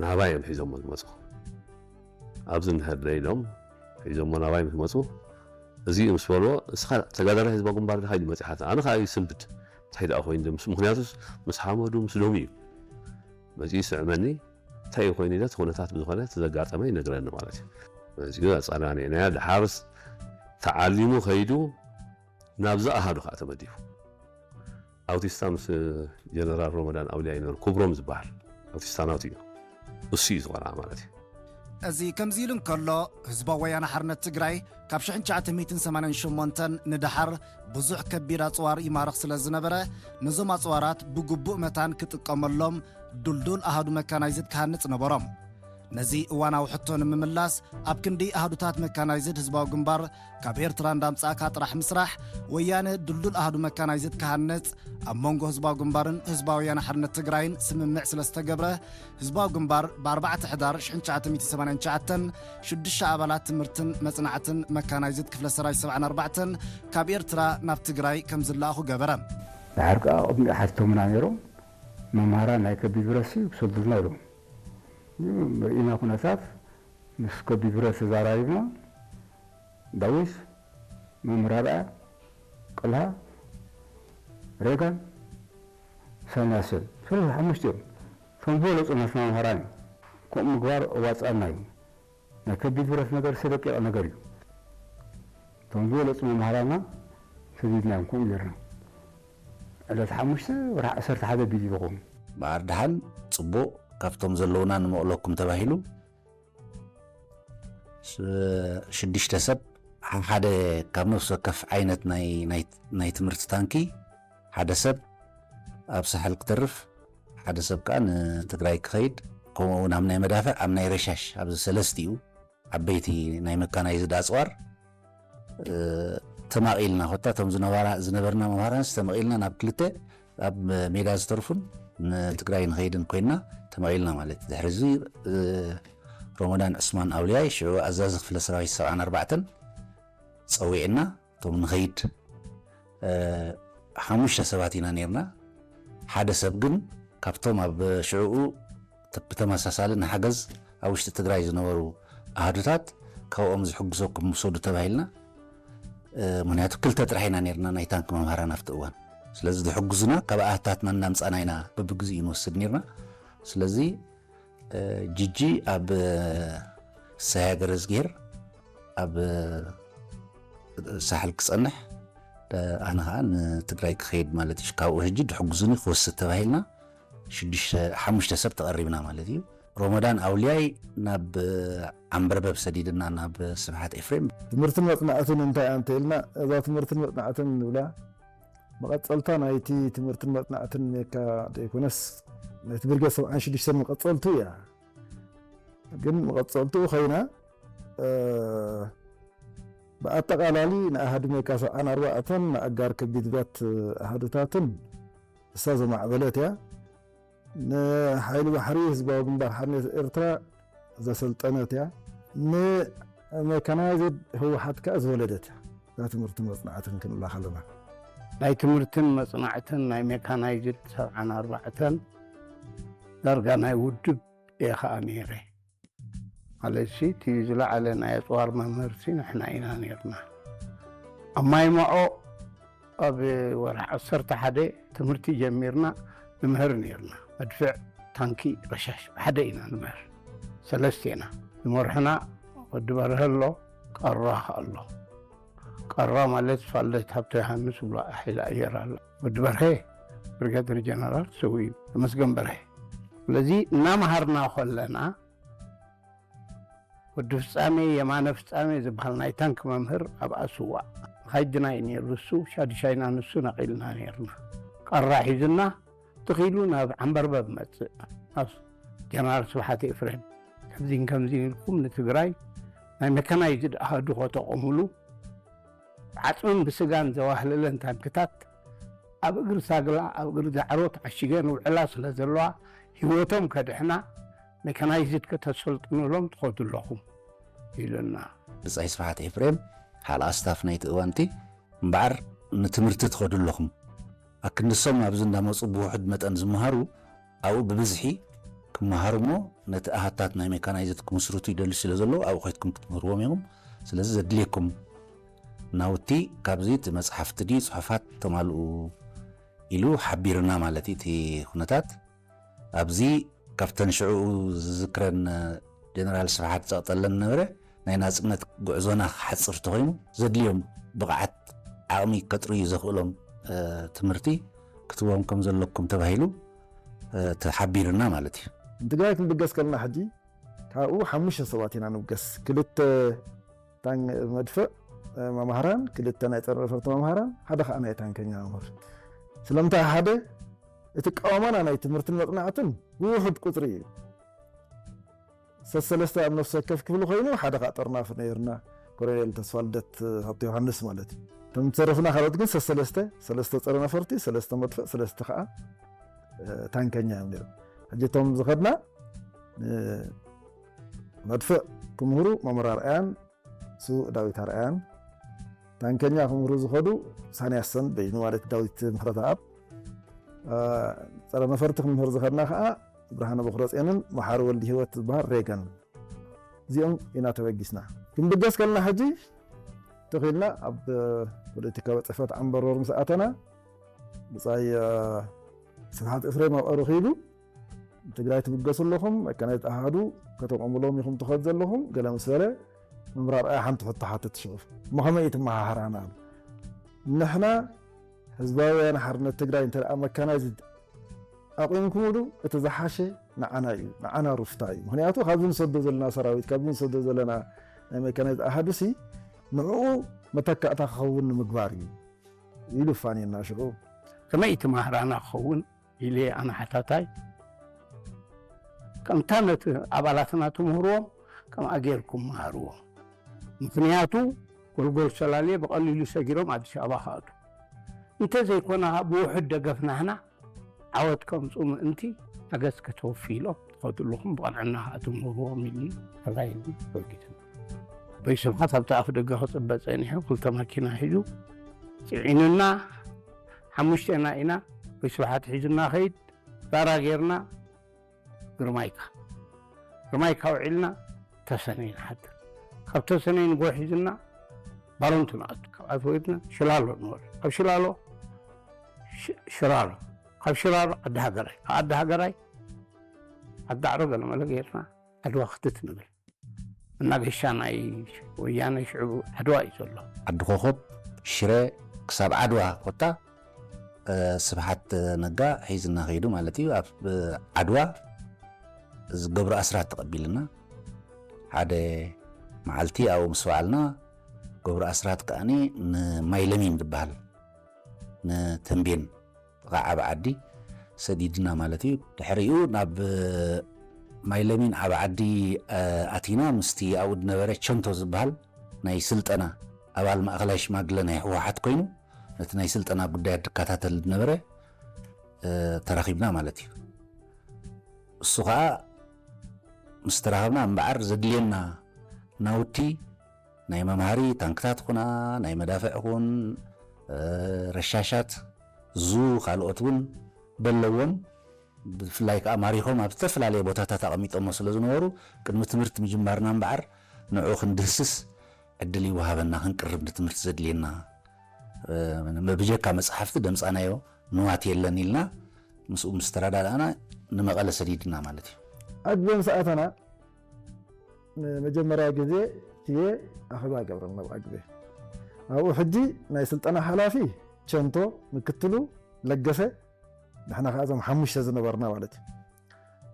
ናባይ እዮም ሒዞሞ ዝመፁ። ኣብዚ እንድሕር ደይ ኢሎም ሒዞሞ ናባይ ምስ መፁ፣ እዚ ምስ በልዎ፣ "እስኻ ተጋዳላይ ህዝባዊ ግንባር ዲኻ?" ኢሉ መፂሓት። ኣነ ከዓ ይስንብድ። እንታይ ደኣ ኮይኑ ምስ፣ ምኽንያቱስ ምስ ሓመዱ ምስ ዶሙ እዩ መፂኡ ይስዕመኒ። እንታይ እዩ ኮይኑ ኢለ እቲ ኩነታት ብዝኾነ እቲ ዘጋጠመ ይነግረኒ ማለት እዩ። መፂኡ ኣፀናኒዕናዮ። ደሓርስ ተዓሊሙ ከይዱ ናብዚ ኣሃዱ ከዓ ተመዲቡ። ኣውቲስታ ምስ ጀነራል ሮመዳን ኣውልያ ይነበሩ፣ ክብሮም ዝበሃል ኣውቲስታ ናቱ እዩ። እሱ እዩ ዝቆልዓ ማለት እዩ። እዚ ከምዚ ኢሉ እንከሎ፣ ህዝባዊ ወያነ ሓርነት ትግራይ ካብ ሽሕን ትሽዓተ ሚእትን ሰማንያን ሸሞንተን ንደሓር ብዙሕ ከቢድ ኣፅዋር ይማርኽ ስለ ዝነበረ፣ ነዞም ኣፅዋራት ብግቡእ መታን ክጥቀመሎም ድልዱል ኣሃዱ መካናይዝድ ክሃንጽ ነበሮም። ነዚ እዋናዊ ሕቶ ንምምላስ፣ ኣብ ክንዲ ኣሃዱታት መካናይዝድ ህዝባዊ ግንባር ካብ ኤርትራ እንዳምጻእካ ጥራሕ ምስራሕ፣ ወያነ ድልዱል ኣሃዱ መካናይዝድ ክሃንጽ ኣብ መንጎ ህዝባዊ ግንባርን ህዝባዊ ወያነ ሓርነት ትግራይን ስምምዕ ስለ ዝተገብረ፣ ህዝባዊ ግንባር ብ ኣርባዕተ ሕዳር ሽሕን ትሽዓተ ሚእትን ሰማንያን ትሽዓተን ሽዱሽተ ኣባላት ትምህርትን መጽናዕትን መካናይዝድ ክፍለ ሰራዊት ሰብዓን ኣርባዕተን ካብ ኤርትራ ናብ ትግራይ ከም ዝለኣኹ ገበረ። ድሓር ከኣ ቅድሚኡ ሓቲቶምና ነይሮም። መምሃራን ናይ ከቢድ ብረትሲ ክሰዱልና ኢሎም። ርኢና ኩነታት ምስ ከቢድ ብረት ተዛራሪብና፣ ዳዊት፣ መምህር ኣርኣያ፣ ቀልሃ፣ ሬጋን፣ ኢሳያስን፣ ሰለስተ ሓሙሽተ እዮም። እቶም ዝበለጹ ናትና መምሃራን እዮም። ከምኡ ምግባር ኣዋጽኣና እዩ። ናይ ከቢድ ብረት ነገር ዝተደቂቐ ነገር እዩ። እቶም ዝበለጹ መምሃራና ሰዲድናዮም ከምኡ ጌርና። ዕለት ሓሙሽተ ወርሒ ዓሰርተ ሓደ ቢል ይልኹም። በዓር ደሓን ጽቡቕ ካብቶም ዘለውና ንመቕለኩም ተባሂሉ ስ-፣ ሽዱሽተ ሰብ ሓደ ካብ ነፍሲ ወከፍ ዓይነት ናይ፣ ናይ፣ ናይ ትምህርቲ ታንኪ ሓደ ሰብ ኣብ ሳሕል ክተርፍ፣ ሓደ ሰብ ከኣ ንትግራይ ክኸይድ፣ ከምኡ እውን ኣብ ናይ መዳፍዕ፣ ኣብ ናይ ረሻሽ፣ ኣብዚ ሰለስቲኡ ዓበይቲ ናይ መካናይዝድ ኣጽዋር፣ እ፣ ተማቒልና፣ ኮታ እቶም ዝነበራ-፣ ዝነበርና መምሃራንስ ተመቒልና ናብ ክልተ ኣብ ሜዳ ዝተርፉን ንትግራይ ንኸይድን ኮይና ተመቒልና ማለት እዩ። ድሕሪ እዚ፣ እ፣ ሮመዳን ዑስማን ኣውልያይ ሽዑ ኣዛዚ ክፍለ ሰራዊት ሰብዓን ኣርባዕተን ጸዊዕና፣ እቶም ንኸይድ፣ እ፣ ሓሙሽተ ሰባት ኢና ነይርና። ሓደ ሰብ ግን ካብቶም ኣብ ሽዕኡ ተ-፣ ብተመሳሳሊ ንሓገዝ ኣብ ውሽጢ ትግራይ ዝነበሩ ኣሃዱታት ካብኦም ዝሕግዘኩም ውሰዱ ተባሂልና። እ፣ ምኽንያቱ ክልተ ጥራሕ ኢና ነይርና ናይ ታንክ መምሃራን ኣብቲ እዋን። ስለዚ ዝሕግዙና ካብ ኣሃታትና እናምጻና ኢና በብግዚኡ ንወስድ ነይርና። ስለዚ፣ እ፣ ጅጂ ኣብ፣ እ፣ ሰሃያ ገረዝጊሄር ኣብ፣ እ፣ ሳሕል ክጸንሕ፣ እ፣ ኣነ ኸዓ ንትግራይ ክኸይድ ማለት እዩ። ካብኡ ሕጂ ድሕግዙኒ ክወስድ ተባሂልና ሽዱሽተ፣ ሓሙሽተ ሰብ ተቐሪብና ማለት እዩ። ሮመዳን ኣውልያይ ናብ፣ እ፣ ዓምበርበብ ሰዲድና ናብ ስብሓት ኤፍሬም። ትምህርትን መጽናዕትን እንታይ ኣንተ ኢልና፣ እዛ ትምህርትን መጽናዕትን ንብላ መቐጸልታ ናይቲ ትምህርትን መጽናዕትን ሜካ ዘይኮነስ፣ ናይቲ ብርጌድ ሰብዓን ሽዱሽተን መቐጸልቱ እያ። ግን መቐጸልቱ ኸይና፣ እ፣ ብኣጠቓላሊ ንኣሃዱ ሜካ ሰብዓን ኣርባዕተን ንኣጋር ከቢድ ብረት ኣሃዱታትን እሳ ዘማዕበለት እያ። ንሓይሊ ባሕሪ ህዝባዊ ግንባር ሓርነት ኤርትራ ዘሰልጠነት እያ። ንሜካናይዝድ ህወሓት ከኣ ዝወለደት እያ። እዛ ትምህርትን መጽናዕትን ክንብላ ከለና። ናይ ትምህርትን መጽናዕትን ናይ ሜካናይዝድ ሰብዓን ኣርባዕተን ዳርጋ ናይ ውድብ እየ ከኣ ነይረ። ማለትሲ፣ እቲ ዝለዓለ ናይ ኣጽዋር መምህርሲ ንሕና ኢና ነይርና። ኣብ ማይ መዖ ኣብ ወርሒ ዓሰርተ ሓደ ትምህርቲ ጀሚርና ንምህር ነይርና። መድፍዕ፣ ታንኪ፣ ረሻሽ ብሓደ ኢና ንምህር። ሰለስቴና። ዝመርሑና ወዲ በርሀ ኣሎ፣ ቀራ ኣሎ። ቀራ ማለት ፋለት ሃብተ ዮሃንስ ብሎ ሓይሊ ኣየር ኣሎ። ወዲ በርሀ ብሪጋደር ጀነራል ሰው እዩ። ተመስገን በርሀ። ስለዚ እናመሃርና ከለና ወዲ ፍጻሜ፣ የማነ ፍጻሜ ዝበሃል ናይ ታንክ መምህር ኣብ ኣስዋእ ካይድና እዩ ነይሩ። እሱ ሻድሻይና ንሱ ነቒልና ነይርና። ቀራ ሒዝና ትኺሉ ናብ ዓምበርበብ መጽእ። ናብ ጀነራል ስብሓት ኤፍሬም፣ ከምዚን ከምዚን ኢልኩም ንትግራይ ናይ መካናይዝድ ኣሃዱ ከተቑሙሉ፣ ዓጽምን ብስጋን ዘዋህለለን ታንክታት ኣብ እግሪ ሳግላ፣ ኣብ እግሪ ዳዕሮ ተዓሺገን ውዕላ ስለ ዘለዋ፣ ህይወቶም ከድሕና፣ ሜካናይዝድ ከተሰልጥኑሎም ትኸዱ ኣለኹም ኢሉና። ብጻይ ስብሓት ኤፍሬም፣ ሓለቓ ስታፍ ናይቲ እዋንቲ፣ እምበኣር ንትምህርቲ ትኸዱ ኣለኹም። ኣክንሶም ኣብዚ እንዳመጹ ብውሑድ መጠን ዝመሃሩ፣ ኣብኡ ብብዝሒ ክመሃሩ እሞ ነቲ ኣሃታት ናይ ሜካናይዝድ ክምስርቱ ይደልዩ ስለ ዘለዉ ኣብኡ ከይድኩም ክትምህርዎም ኢኹም። ስለዚ ዘድልየኩም ናውቲ ካብዚ እቲ መጽሓፍቲ ድዩ ጽሑፋት ተማልኡ ኢሉ ሓቢርና ማለት እዩ። እቲ ኩነታት ኣብዚ ካብተን ሽዑ ዝዝክረን ጀነራል ስብሓት ጸቕጠለን ነበረ ናይ ናጽነት ጉዕዞና ክሓጽር ተኾይኑ ዘድልዮም ብቕዓት ዓቕሚ ከጥርዩ ዘኽእሎም ትምህርቲ ክትቦም ከም ዘለኩም ተባሂሉ ተሓቢርና ማለት እዩ። ንትግራይ ክንብገስ ከለና ሕጂ ካብኡ ሓሙሽተ ሰባት ኢና ንብገስ። ክልተ ታን መድፍዕ መምሃራን፣ ክልተ ናይ ጸረ ነፈርቲ መምሃራን፣ ሓደ ከዓ ናይ ታንከኛ መምህር። ስለምንታይ ሓደ እቲ ቀዋማና ናይ ትምህርትን መጽናዕትን ብውሑድ ቁጽሪ እዩ። ሰሰለስተ ኣብ ነፍሲ ወከፍ ክፍሊ ኮይኑ ሓደ ከዓ ጠርናፊ ነይርና፣ ኮሎኔል ተስፋልደት ሃብተ ዮሃንስ ማለት እዩ። እቶም ዝተረፍና ካልኦት ግን ሰሰለስተ፣ ሰለስተ ጸረ ነፈርቲ፣ ሰለስተ መድፍዕ፣ ሰለስተ ከዓ ታንከኛ እዮም ነይሮም። ሕጂ እቶም ዝኸድና መድፍዕ ክምህሩ መምህር ኣርኣያን ስዉእ ዳዊት ኣርኣያን፣ ታንከኛ ክምህሩ ዝኸዱ ሳንያሰን በይኑ ማለት ዳዊት ምሕረተኣብ፣ ጸረ ነፈርቲ ክምህር ዝኸድና ከዓ ብርሃነ በኩረጼንን መሓሪ ወልዲ ህይወት ዝበሃል ሬገን። እዚኦም ኢና ተበጊስና። ክንብገስ ከለና ሕጂ ተኺልና ኣብ ፖለቲካዊ ጽሕፈት ዓንበሮር ምስ ኣተና ብጻይ ስብሓት እፍሬም ኣብኡ ረኺቡ ትግራይ ትብገሱ ኣለኹም፣ መካናይዝድ ኣሃዱ ከተቆምሎም ኢኹም ትኸዱ ዘለኹም ገለ ምስ በለ መምህር ኣርኣያ ሓንቲ ሕቶ ሓተት ሽዑ እሞ ከመይ እዩ ትመሃሃራና? ንሕና ህዝባውያን ሓርነት ትግራይ እንተ ደኣ መካናይዝድ ኣቑምኩምሉ እቲ ዝሓሸ ንዓና እዩ፣ ንዓና ሩፍታ እዩ። ምክንያቱ ካብዚ ንሰዶ ዘለና ሰራዊት ካብዚ ንሰዶ ዘለና ናይ መካናይዝድ ኣሃዱሲ ንዕኡ መተካእታ ክኸውን ንምግባር እዩ ኢሉ ፋንየና ሽዑ። ከመይ እዩ ትመሃራና ክኸውን ኢለ ኣነ ሓታታይ ከምታ ነቲ ኣባላትና ትምህርዎም ከምኣ ጌርኩም መሃርዎም። ምክንያቱ ጎልጎል ሰላሌ ብቐሊሉ ሰጊሮም ኣዲስ ኣበባ ክኣቱ እንተዘይኮነ ብውሑድ ደገፍ ናህና ዓወት ከምፁ ምእንቲ ሓገዝ ከተወፊ ኢሎም ትኸዱ ኣለኹም ብቐንዕና ኣትምህርዎም ኢሉ ተጋይሉ ወጊቱ። በይ ስብሓት ኣብቲ ኣፍ ደገ ክፅበ ፀኒሑ ክልተ ማኪና ሒዙ ፅዒኑና ሓሙሽቴና ኢና። በይ ስብሓት ሒዙና ከይድ ዳራ ጌርና ግርማይካ ግርማይካ ውዒልና ተሰነይ ንሓድር። ካብ ተሰነይ ንጎ ሒዝና ባሮንቱ ንኣቱ ካብ ኣትወይድና ሽላሎ ንወር ካብ ሽላሎ ሽራሮ ካብ ሽራሮ ዓዲ ሃገራይ ካብ ዓዲ ሃገራይ ዓዲ ዓሮ ገለመለ ጌርና ዓድዋ ክትት ንብል መናገሻ ናይ ወያነ ሽዑ ዓድዋ እዩ ዘሎ። ዓዲ ኮኾብ ሽረ ክሳብ ዓድዋ ኮታ ስብሓት ነጋ ሒዝና ከይዱ ማለት እዩ። ኣብ ዓድዋ ገብሩ ኣስራት ተቐቢልና ሓደ መዓልቲ ኣብኡ ምስ በዓልና ገብሩ ኣስራት ከዓኒ ንማይለሚን ዝበሃል ንተንቤን ጥቓ ዓቢ ዓዲ ሰዲድና ማለት እዩ። ድሕሪኡ ናብ ማይለሚን ዓቢ ዓዲ ኣቲና ምስቲ ኣብኡ ዝነበረ ቸንቶ ዝበሃል ናይ ስልጠና ኣባል ማእኸላይ ሽማግለ ናይ ህወሓት ኮይኑ ነቲ ናይ ስልጠና ጉዳያት ዝከታተል ዝነበረ ተራኺብና ማለት እዩ። እሱ ከዓ ምስ ተራኸብና እምበዓር ዘድልየና ናውቲ ናይ መምሃሪ ታንክታት ኩና ናይ መዳፍዕ ኩን ረሻሻት ዙ ካልኦት እውን በለዎም ብፍላይ ከዓ ማሪኾም ኣብ ዝተፈላለየ ቦታታት ኣቐሚጦሞ ስለ ዝነበሩ ቅድሚ ትምህርቲ ምጅማርና እምበዓር ንዑ ክንድህስስ ዕድል ይወሃበና ክንቅርብ ንትምህርቲ ዘድልየና ብጀካ መፅሓፍቲ ደምፃናዮ ንዋት የለን ኢልና ምስኡ ምስ ተረዳዳእና ንመቐለ ሰዲድና ማለት እዩ። ኣግበ ምስ ኣተና ንመጀመርያ ግዜ ትየ ኣኸባ ገብረን ናብ ኣግበ ኣብኡ ሕጂ ናይ ስልጠና ሓላፊ ቸንቶ ምክትሉ ለገሰ ንሕና ከዓ እዞም ሓሙሽተ ዝነበርና ማለት እዩ።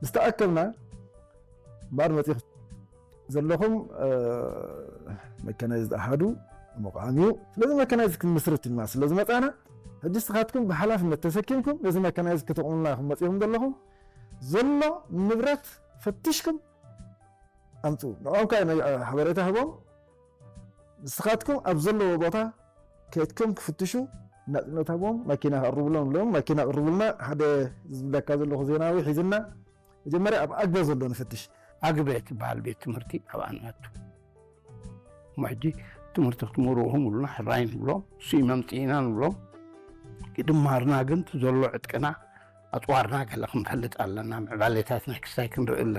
ምስ ተኣከብና እምበኣር መፂኹ ዘለኹም መካናይዝድ ኣሃዱ ምቋም እዩ። ስለዚ መካናይዝድ ክንምስርት ኢልና ስለ ዝመፃና ሕጂ ንስኻትኩም ብሓላፍነት ተሰኪምኩም ነዚ መካናይዝድ ከተቑሙልና ኢኹም መፂኹም ዘለኹም ዘሎ ንብረት ፈቲሽኩም ኣምፅኡ ንዕኦም ከዓ ሓበሬታ ህቦም ንስኻትኩም ኣብ ዘለዎ ቦታ ከይድኩም ክፍትሹ ናፅነት ሃቦም ማኪና ክቕርብሎም ኢሎም ማኪና ቅርቡልና ሓደ ዝብለካ ዘለኹ ዜናዊ ሒዝና መጀመርያ ኣብ ኣግበ ዘሎ ንፍትሽ ኣግበ ትበሃል ቤት ትምህርቲ ኣብኣ ንኣቱ እሞ ሕጂ ትምህርቲ ክትምህርዎም ብሉና ሕራይ ንብሎም እሱ መምፅኢና ንብሎም ይድማርና ግን ዘሎ ዕጥቅና ኣፅዋርና ገለ ክንፈልጥ ኣለና፣ ምዕባሌታትና ክስታይ ክንርኢ ኣለና።